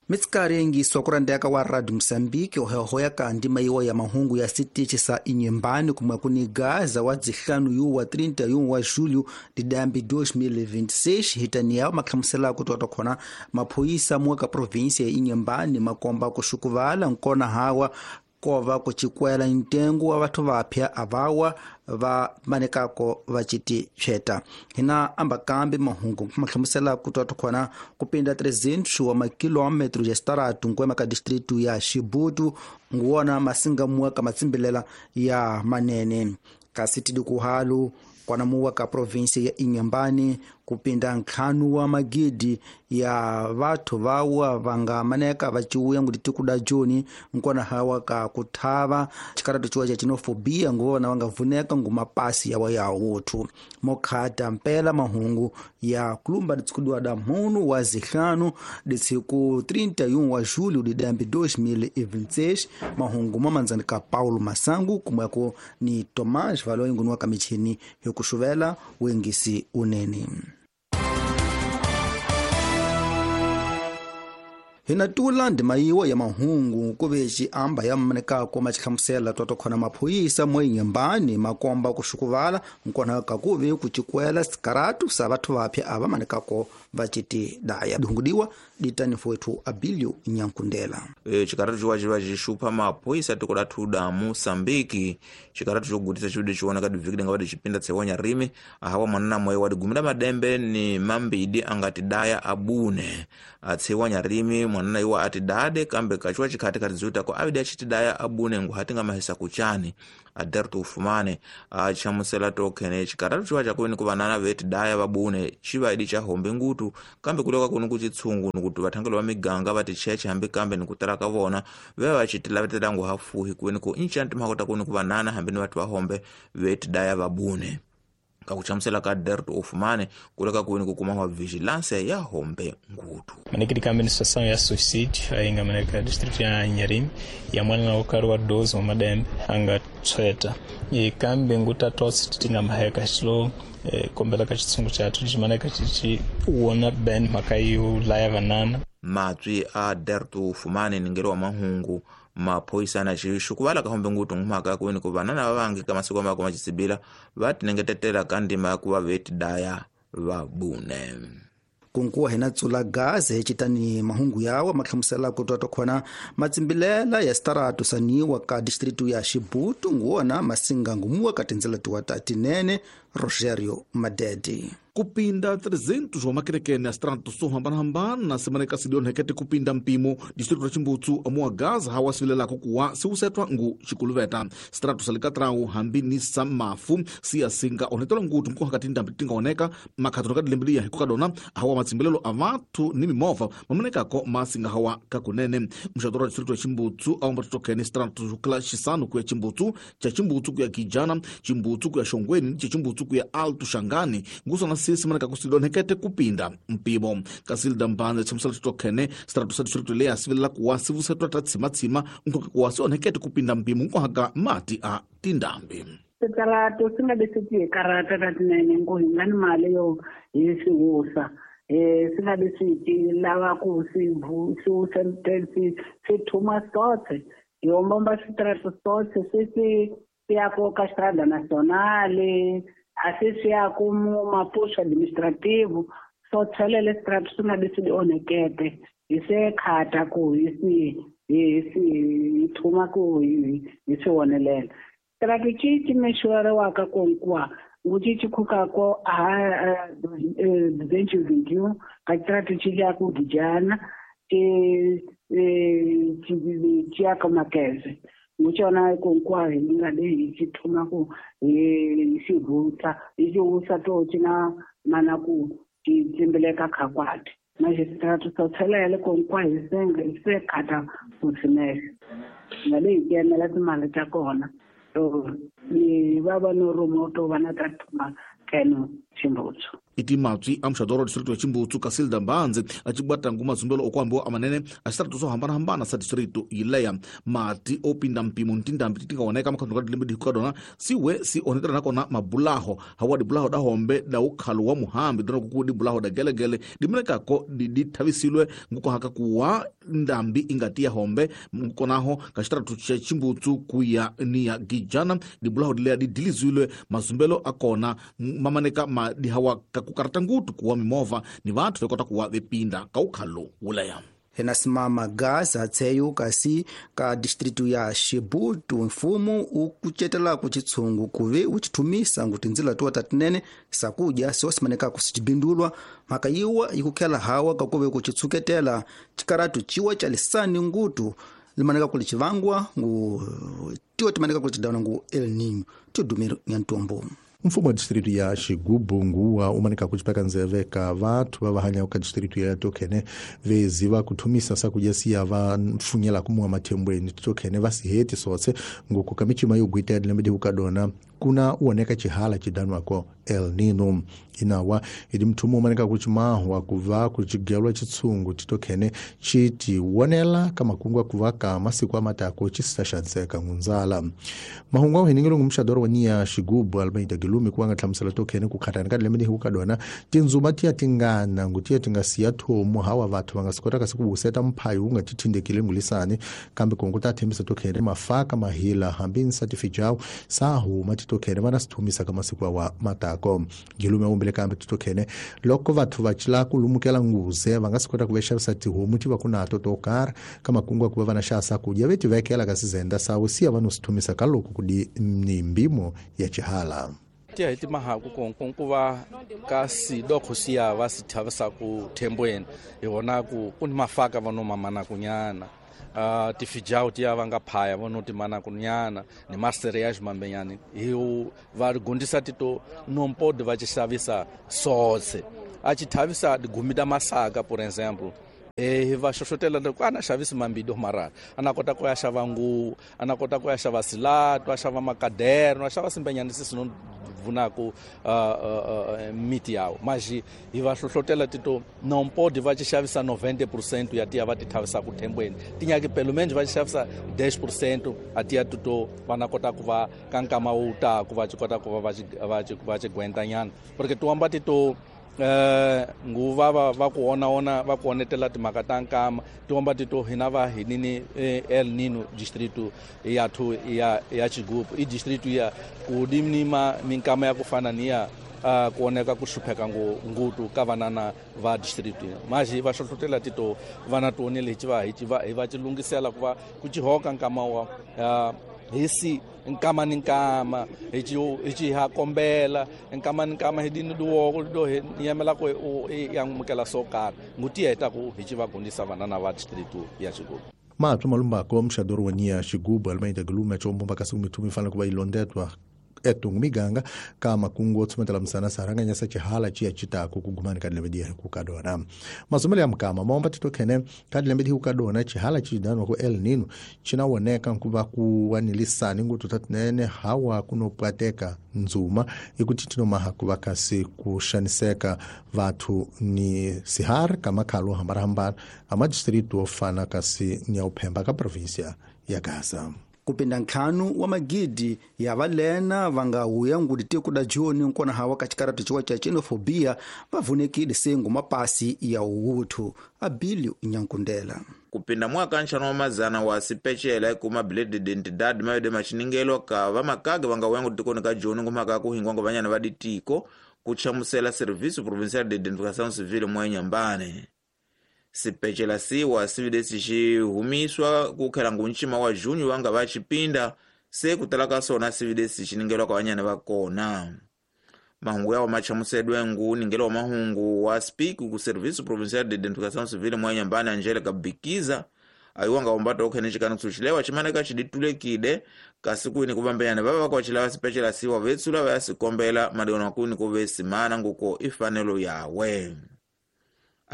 Mitsikari sokurandeka wa Radio Mosambiki ohehoya kandi maiwa ya mahungu ya sitichi sa Inhambane kumwe kuni Gaza wa dzihlanu yuwa 31 wa julho didambi 2026 hitani yao mahlamusela kutoka khona maphoyisa muka provinsia ya Inhambane makomba kuxukuvala nkona hawa kova kuchikwela ntengo wa vathu vapya avawa va manekako va citi tshweta hina amba kambe mahungu mahlamusela kutwathu khona kupinda 300 wa makilometro ya xitaratu nkwema ka distritu ya Xibutu nguwona masingamuwa ka matsimbilela ya manene kasi tidikuhalu kwanamuwa ka provinsi ya Inhambane kupinda ntlhanu wa magidi ya vathu vawa vanga maneka vaciuya ngutitikuda joni nkona hawa ka kuthava xikaratu ciwa ca xenofobia nguvona vanga vuneka ngumapasi yawa ya wuthu mokhata mpela mahungu ya kulumba ditsikudiwa da mhunu wa zihlanu ditsiku 31 wa julho didambi 2026 mahungu mamandzani ka Paulo Masangu kumweko ni Tomás Valoyi nguniwa ka michini yokuxuvela wengisi unene. Hina tula ndima yiwa ya mahungu kuve xiamba ya manekako maxihlamusela toto khona maphoyisa mo Inhambane makomba kuxukuvala nkona kakuve kucikwela sikaratu sa vathu vapya ava manekako va citi daya dihungudiwa ditani fowethu Abilio Nyankundela. Xikaratu xiwa xi va xi xupha maphoyisa tiko la thuda Moçambique xikaratu xo gutisa xividi xi vonaka divhiki linga va dixipinda tsewanya rimi ahawa mwanana moyo wa digumila madembe ni mambidi anga tidaya abune atsewanya rimi mwanana iwa ati dade kambe kachiwa chikhati khati ziwitako avidi achitidaya abune nguhati nga mahisa kuchani aderto ufumane achamusela tokhene chikaratu chiwa chakuweni kuvanana vetidaya vabune chivaidi cha hombe ngutu kambe kuleka kunu kuchitsungu nikuti vathangelo va miganga vati cheche hambi kambe nikutala ka vona veva vachitilavetela ngu hafuhi kuweni ku inchanti mhakota kuni kuvanana hambi ni vathu va hombe vetidaya vabune kakuchamusela ka derto ufumane kuleka kuweni kukuma wa vigilância ya hombe ngutu. Manekidi ka administração ya suicídio ainga maneka distrito ya Inharime ya mwana na ukaru wa 12 wa madembe anga tshweta e kambe nguta tosi tinga maheka xilo kombela ka xitsungu xathu ximaneka xi wona ben mhaka yo laya vanana. Matswi a derto ufumane ningelo wa mahungu maphoyisa na xixukuvala ka hombe ngutu ngumhaka kuweni ku vanana va vangi ka masiku mako machisibila va tinengetetela ka ndima ya ku va vetidaya vabune. Kunkuwa hina tsula gaze hecitani mahungu yawa mahlamusela kutwa khona matsimbilela ya sitaratu saniwa ka distritu ya Xibutu nguwona masinga ngumuwa ka tindzela tiwa ta tinene Rogerio Madede. Kupinda 300 wa makerekene ya strato so hambanahambana simaneka sidionhekete kupinda mpimo distrito la Chimbutsu amuwa Gaza hawa sivilelako kuwa siusetwa ngu xikuluveta strato salikatrau hambi ni sa mafu siyasinga onetola ngutu nkohaka tindambi tingaoneka makhato ka dilembiliya hikokadona hawa matsimbilelo a vathu ni mimovha mamanekako masinga hawa kakunene mxadoro wa distrito ya Chimbutsu aomba totokene strato xukila xisanu kuya Chimbutsu cha Chimbutsu kuya Kijana Chimbutsu kuya Xongweni cha Chimbutsu kuya Alto Xangani ngusona sisi maneka kusidonhekete kupinda mpimo kasilda mbanze chamusala titokhene strato sa distrito leya sivilela kuwa sivusetwa ta tshimatsima nkoka kuwa sionhekete kupinda mpimo nkohaka mati a tindambi. Switalato swi nga leswi hi karata ta tinene ngo hi nga ni mali yo hi swi wusa swi nga leswi ti lava ku swi wusa swi thuma sotse hi ombomba switalato sotse swi swi ya ko ka Estrada Nacional asi swi ya ku mapuxo administrativo so tshelele strato swi nga leswi onhekete hi se khata ku hi swi hi thuma ku hi swi wonelela strato ci mexuweriwaka ku nkuwa ngu ci ci khukako a 221 ka strato ci ya ku Gijana ci ya ka Makeze nguchona konkwari hi nga leyi hi xi thuma ku hi xi vutsa hi xi wusa to xi na mana ku xi tsimbileka khakwati magistrato so tshelele konkwa hi senga hi se khata ku tshinela nga leyi ti emela timali ta kona to ni va va no ruma to va na ta thuma keno Chimbutsu. Iti matswi a muxadoro wa distrito ya Chimbutsu Casilda Mbanzi a cibwata ngu mazumbelo okuambiwa amanene a xitaratu swo hambanahambana sa distrito yileya mati opinda mpimo ni tindhambi ti nga oneka makhando ka dilembe dihikuka dona siwe si onetela nakona mabulaho hawa dibulaho da hombe da ukhalo wa muhambi dona kuku dibulaho da gelegele dimelekako dithavisilwe ngukohaka kuwa ndambi ingati ya hombe ngukonaho ka xitaratu xa Chimbutsu kuya ni ya Gijana dibulaho dileya didilizilwe mazumbelo akona mamaneka madihawa kakukarata ngutu kuwa mimovha ni vathu vekota kuwa vepinda ka ukhalo wuleya. Enasimama gaza tseyo kasi ka distritu ya Xibutu mfumo ukucetela kuchitsungu kuve uchithumisa ngu tindzila tuwa tatinene sakudya siwasimaneka kusicibindulwa mhaka yiwa ikukhela hawa kakuve kuchitsuketela chikaratu chiwa cha lisani ngutu limaneka kuli chivangwa ngu tiwa timaneka kuli chidana ngu El Niño tidumiro nyantombo. Mfumo wa distrito ya Xigubu nguwa umanika kuchipaka nzeve ka vathu va hanya ka distrito ya tokhene veziva kuthumisa sakudya siya va mfunyela kumuwa mathembweni tokhene va siheti sotse nguku ka michima yo gwita ya dilembe dihukadona kuna uoneka chihala chidanwako El Nino inawa idi mthumo umanika kuchimahwa kuva kuchigelwa chitsungu titokhene chiti wonela kamakungu kuva ka masiku amatako chisisaxaniseka ngunzala mahungu a uheningelo ngu muxadoro wa niya Xigubu Almeida Gilumi kuwanga hlamusela tokhene kukhatani ka dilembe dihukadona tindzuma tiya tingana ngu tiya tinga siya thomu hawa vathu va nga si kotaka siku vuseta mphayo wu nga ti thindekile ngulisani kambe kongo ta thembisa tokhene mafaka mahila hambi nsatifijawu sa huma titokhene va na sithumisa ka masiku awa matako Gilume umbele kambe titokhene loko vathu va cila ku lumukela nguze va nga si kota ku vexavisa tihomu ti va ku nato to karhi ka makungu ya ku va va na xa sakudya ve ti vekela ka sizenda sawu siya va no sithumisa ka loko ku di ni mbimo ya chihala. Tiya hi timahaku konko va ka sidokho siya va si thavisaku thembweni hi vona ku ku ni mafaka va no mamanaku nyana tifijawu tiya va nga phaya va no timanaku nyana ni macereals mambenyani hi va gondisa tito nompodi va xavisa sotse a xi thavisa digumi ta masaka por exemple. Va xoxotela loko a na xavisi mambido marara a na kota ku ya xava nguvu a na kota ku ya xava silato a xava makaderno a xava simbenyani sisi no vunaku miti yawo maji hi va hlohlotela tito nompodi va xi xavisa 90% ya tiya va ti thavisaka thembweni tinyaki pelo menos va xi xavisa 10% a tiya tito va na kota ku va ka nkama wu taku va xi kota ku va va xi gwentanyana porque tiwamba tito nguva va ku ona va ku onetela timhaka ta nkama tiomba tito hina va hinini El Nino distrito ya thu ya Xigubu i distrito ya ku dimnima minkama ya ku fana ni ya ku oneka ku hlupheka ngutu ka vanana va distrito maji va hlohlotela tito vana tionele hi va hi va ci lunghisela ku va ku ci hoka nkama wa hisi nkama ni nkama hi ci ha kombela nkama ni nkama hi dini duwoko do hi yamela ku ya mukela so karhi nguti heta ku hi ci va gundisa vanana va distrito ya Xigubu. Matlo malumbako mxadoro wa niya Xigubu Almeida Gilumi chombomba kasi kumithumi fanele ku va ilondetwa etungu miganga ka makungu otsumetela msana saranganyasa chihala chiya chitaku kugumani ka dilembe diya hikukadona mazomelo ya mukama maomba titokhene ka dilembe dihikukadona chihala chidanwa ku El Nino chinawoneka nkuva kuwanilisani ngutu tatinene hawa kunopwateka ndzuma ikuti tinomaha kuva kasi kuxaniseka vathu ni sihari ka makhalo hambanahambana a madistritu ofana kasi ni ya uphemba ka provinsia ya Gaza. Kupinda ntlhanu wa magidi ya valena va nga huya ngudi tiko da joni nkona hawa ka chikaratu chiwa cha xenofobia va vunekile sengu mapasi ya uwuthu Abilio Nyankundela. Kupinda mwaka nxano wa mazana wa sipecela ikuma bilete d'identidade mayode machiningelo ka vamakaga va nga huya ngudi tikoni ka joni ngumhaka kuhingwa ngo vanyana va ditiko kuchamusela Serviço Provincial de Identificação Civil mwa Inhambane. Sipecela siwa sividesi xihumiswa kukhela ngunchima wa junho va nga va xipinda se kutala ka sona sividesi xiningelwa ka vanyana va kona. Mahungu yawo machamusedwe ngu ningelo wa mahungu wa speak ku Serviço Provincial de Identificação Civil mwa Inhambane Angelica Bikiza ayiwa nga umbata okhene xikana kusuxilewa ximaneka xiditulekile kasi kwini kuvambenyana va va kwa xilava sipecela siwa vetsula va ya sikombela madiona kwini ku ve simana nguko ifanelo yawe.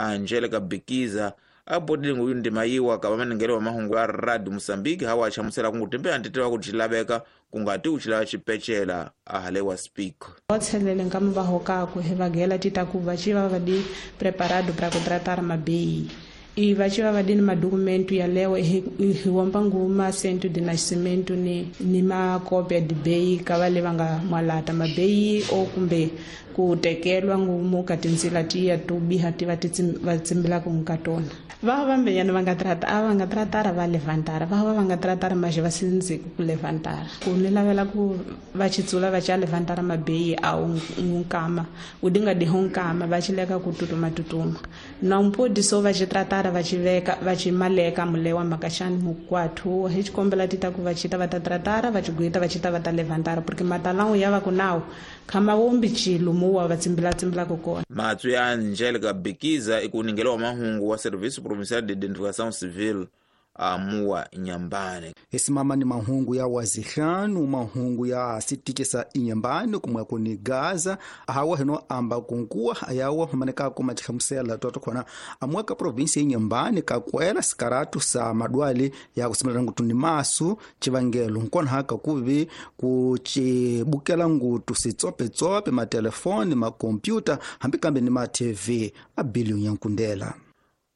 Angelica Bikiza Abodile nguyu ndima yiwa ka vamanengele wa mahungu ya Radio Mosambiki hawa achamusela kungu tembe antitewa kuchilaveka kungati uchilava chipechela ahalewa speak otselele nkama va hokako hi vagela tita ku va ci va va di preparado para ku tratar mabei e va ci va va di ni madokumento yalewo hi womba nguma cento de nascimento ni makopia de bei ka va le va nga mwalata mabei o kumbe ku tekelwa ngumu ka tindzila tiya to biha ti va va tsimbelaka ka tona. Va vambenyana va nga trata a va nga tratara va levantara va va nga tratara maje va sindziku ku levantara ku ni lavela ku va chitsula va cha levantara mabei a unkama u dinga di honkama va chileka ku tutuma tutuma na mpodi so va chitratara va chiveka va chimaleka mulewa makashani mukwathu hi chikombela tita ku va chita va ta tratara va chiguita va chita va ta levantara porque matalangu ya va ku nawu khama wombi chilo muwa va tsimbela tsimbela ku kona. Matswi ya Angelica Bikiza ikuningelewa mahungu wa Serviço Provincial de Identificação Civil amuwa Inhambane. Esimama ni mahungu ya wazihlanu mahungu ya sitikisa Inhambane kumwe kuni Gaza hawa hino amba kunkuwa ayawa maneka kuma chihamusela toto khona amwaka provinsi ya Inhambane kakwela sikaratu sa madwali ya kusimela ngutu ni masu chivangelo nkona haka kuvi kuchibukela ngutu sitsope tsope matelefoni makompyuta hambi kambe ni ma TV a billion ya nkundela.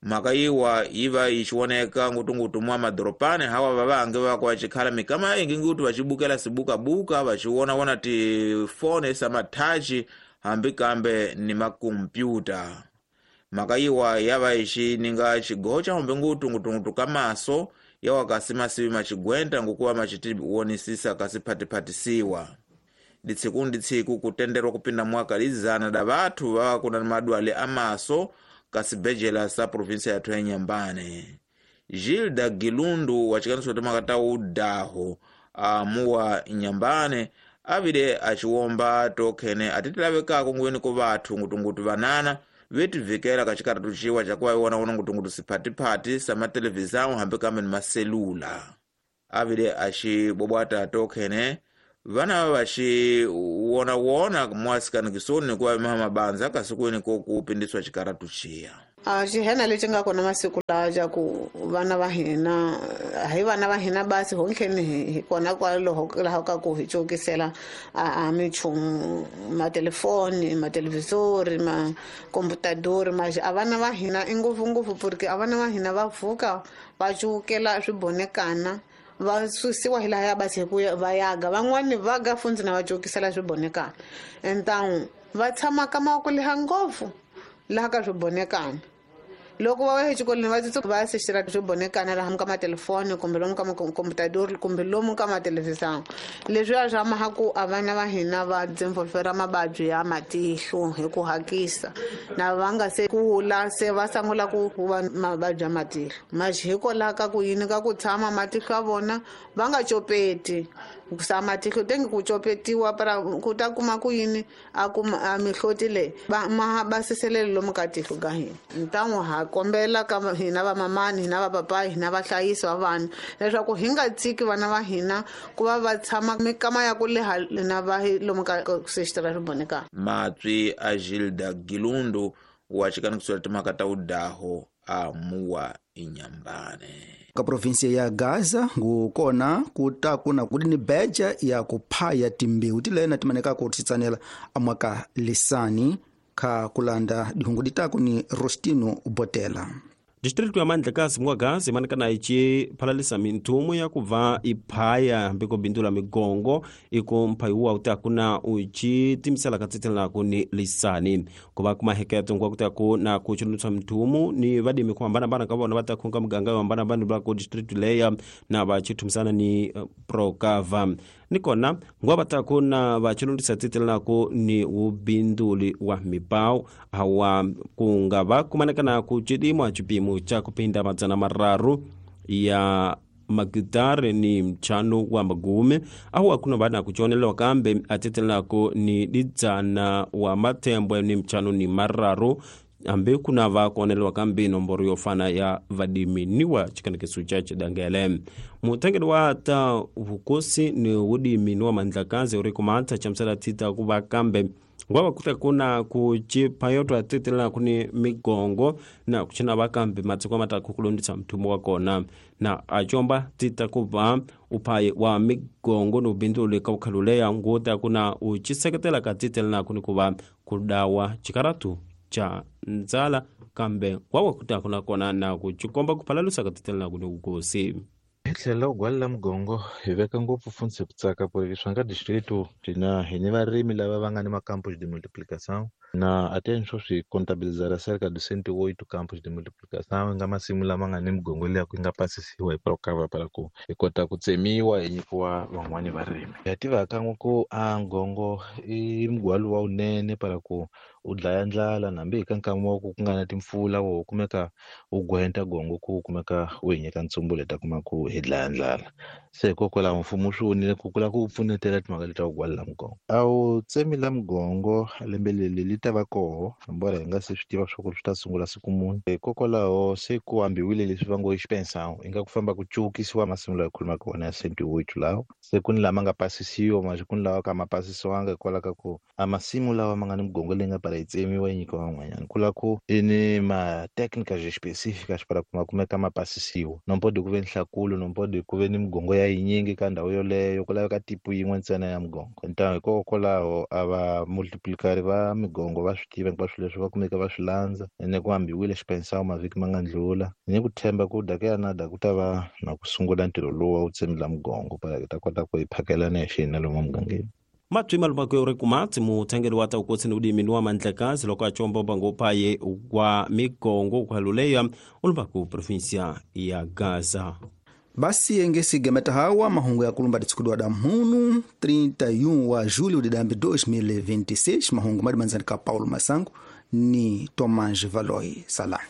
Mhaka yiwa yiva yichioneka ngutungutu mwa madoropani hawa vavange vako vachikhala mikama ingi ngutu vachibukela sibukabuka vachiwonawona tifoni samathachi hambi kambe ni makompyuta. Mhaka yiwa yava ichininga chigocha hombe ngutu ngutungutu kamaso yawa kasi masivi machigwenta ngukuva machitiwonisisa kasi phatiphatisiwa. Ditsiku nditsiku kutenderwa kupinda mwaka lizana da vathu vava kuna madwale amaso kasibejela sa provinsia yathu ya Inhambane. Gilda Gilundu wachikaniso timakata udaho amuwa Inhambane avile achiwomba tokhene atitilavekako nguweni ku vathu ngutungutu vanana vetivikela kachikaratu ciwa cakuva iwonawona ngutungutu siphatiphathi sa matelevisão hambi kambe ni maselula. Avile acibobwata tokhene vana vaxiwonawona mwasikanikisoni kuva maha mabanza kasi kwini ko kupindiswa xikaratu xiya. A xihena lexi nga kona masiku lawa xa ku vana va hina hi vana va hina basi honkheni hi kona kwaloho laha ka ku hi cokisela a minchumu matelefoni matelevisori makomputadori ma a vana va hina i ngopfungopfu porque a vana va hina va pfuka va cukela swibonekana va susiwa hi laha ya basi hi ku va yaga van'wani va ga fundzi na va cokisela swibonekana entangu va tshama ka mavoko leha ngopfu laha ka swibonekana loko va ya exikolweni va tsutsu va ya sexela swibonekana laha ka matelefoni kumbe lomu ka makomputadori kumbe lomu ka matelevisão leswiya swa maha ku a vana va hina va dzinvolvera mavabyi ya matihlo hi ku hakisa na va nga se kula se va sungula ku va mavabyi ya matihlo maxi hikwalaho ka ku yini ka ku tshama matihlo ya vona va nga copeti sa matihlo tengi ku copetiwa para ku ta kuma ku yini a kuma a mihloti leyi va ma basiselele lomu ka tihlo ka hina ntangu ha kombela ka hina va mamani hina va papayi hina vahlayisi va vana leswaku hi nga tshiki vana va hina ku va va tshama mikama ya ku leha na va lomu ka sexitara swibonekana. Matswi a Gilda Gilundu wa xikanikisela timhaka ta udaho a muwa Inhambane. Ka provinsia ya Gaza ngukona kuta kuna kudi ni beja ya kuphaya timbewu tilena timaneka ku titsanela amwaka lisani kha kulanda dihungu ditaku ni Rostino Botela. District ya Mandlakazi mwa Gaza imanekana ici phalalisa minthumu ya kuva iphaya hambi ko bindula migongo iko mphayiwa utaku na uci timisela katsitselanaku ni lisani kuva kumaheketo nkwa kutaku na kuchulutsa minthumu ni vadimi kuhambanahambana ka vona va ta khunka miganga yo hambanahambana va ku district leya na va chithumisana ni Procava ni kona ngwa va taku na va chulutsa tsitselanaku ni wubinduli wa mibawu hawa kunga va kumanekana ku cidimwa cipimo cha kupinda 300 ya magitare ni mchano wa magume ahu akuna vana kuchonelewa kambe atetelako ni didzana wa mathembwe ni mchano ni mararu ambe kuna va kuonelewa kambe nomboro yofana ya vadimi niwa chikanekeso cha chidangele mutengeli wa ta vukosi ni wudimi ni wa Mandlakazi uri kumantha chamsela tita kuva kambe Ngwava kuta kuna kucipayotwa titelela kuni migongo na kucina vakambi matsiko mataku kulondisa mthumo wa kona na acomba tita kuva uphayi wa migongo ni ubindzuli ka ukhaluleya nguta kuna uciseketela ka titelela kuni kuva kudawa cikaratu ca ndzala kambe ngwawa kuta kuna kona na kucikomba kuphalalusa ka titelela kuni kukosi. Hi tlhela u gwalela mugongo hi veka ngopfu fundzi ku tsaka ku ri swa nga distrito na hi ni varimi lava va nga ni macampos de multiplicação na até swo swi contabilizar cerca de 108 campos de multiplicação nga masimu lama nga ni migongo liya ku nga pasisiwa hi Procava para ku hi kota ku tsemiwa hi nyikiwa van'wani varimi. Ha tiva kan'we ku a ngongo i mugwalo wa wunene para ku u dlaya ndlala nambi hi ka nkama wa ku ku nga na timpfula wo kumeka wu gwenta gongo ku kumeka wu hi nyika ntsumbu leta kuma ku hi dlaya ndlala. Se hikokwalaho mfumo wu swi vonile ku ku lava ku pfunetela timhaka leti ta ku gwalela mugongo. A wu tsemi la mugongo lembe leri li ta va koho embora hi nga se swi tiva swa ku swi ta sungula siku muni. Hikokwalaho se ku ambiwile leswi va ngo i xipensão i nga ku famba ku cukisiwa masimu lawa hi khulumaka wona ya 108 lawa se ku ni lama nga pasisiwa manje ku ni lawa ka ma pasisiwanga hikwalaho ka ku a masimu lawa ma nga ni migongo leyi nga para yi tsemiwa yi nyikiwa van'wanyana ku lava ku i ni ma-técnicas específicas para ku ma kumeka ma pasisiwa. No pode ku ve ni nhlakulo no pode ku ve ni migongo ya yinyingi ka ndhawu yoleyo ku laveka tipo yin'we ntsena ya migongo. Então hikokwalaho a va multiplicari va migongo va swi tiva hinkwaswo leswi va kumeka va swi landza ene ku ambiwile xipensão mavhiki ma nga ndlula. Ni ku tshemba ku daka ya na da ku ta va na ku sungula ntirho lowu wa ku tsemela migongo para hi ta kota ku hi phakelana hi xihina lomu mugangeni. Matwi malumako yo ri kumatsi muthengeli wa taukosi ni udimi wa mandlakazi loko acomba mbango uphaye wa migongo ukhaluleya ulumbaku provinsia ya Gaza. Basi engesigemeta hawa mahungu ya kulumba ditsukudiwa da mhunu 31 wa julho de dambi 2026 mahungu madimanzani ka Paulo Masango ni Tomás Valoi. Salam.